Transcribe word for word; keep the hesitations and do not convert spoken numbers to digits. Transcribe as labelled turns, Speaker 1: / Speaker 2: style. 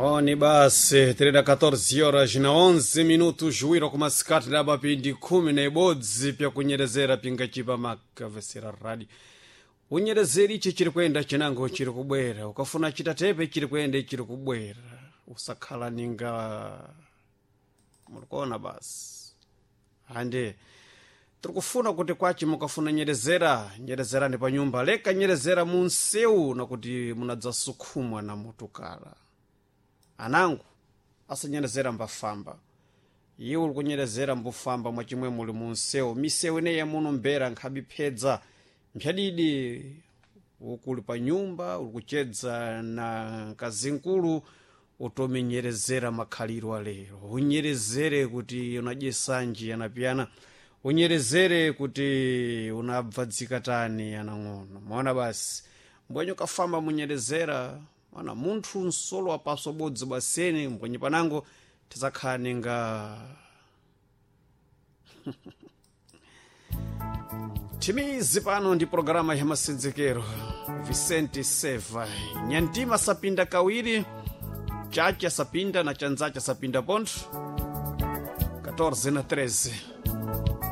Speaker 1: Oni basi tirida catorze horas na onze minutos juwiro kumasikati laba pindi khumi na ibodzi pyakunyerezera pingachipa makavesera radi unyerezeri ichi chiri kuyenda chinango chiri kubwera ukafuna chitatepe chiri kuyenda chiri kubwera usakhala ninga mulikuona basi ande tirikufuna kuti kwachi mukafuna nyerezera nyerezerani pa nyumba leka nyerezera munsewu nakuti munadzasukhumwa na mutukala anangu asanyerezera mbafamba iwe uli kunyerezera mbufamba mwachimwe muli munsewu misewu ineyi muno mbera nkhabiphedza mphyadidi ukuli pa nyumba uli kuchedza na kazinkulu utomenyerezera makhaliro alero unyerezere kuti unadye sanji anapiyana unyerezere kuti unabva dzikatani anang'ono maona basi mbwenye ukafamba munyerezera mana munthu nsolo wapaso bodzi baseni mbwenye panango tizakhala ninga timizi pano ndi programa ya masenzekero Vicente Seva nyantima sapinda kawiri chacha sapinda na chanzacha sapinda pontho catorze na treze.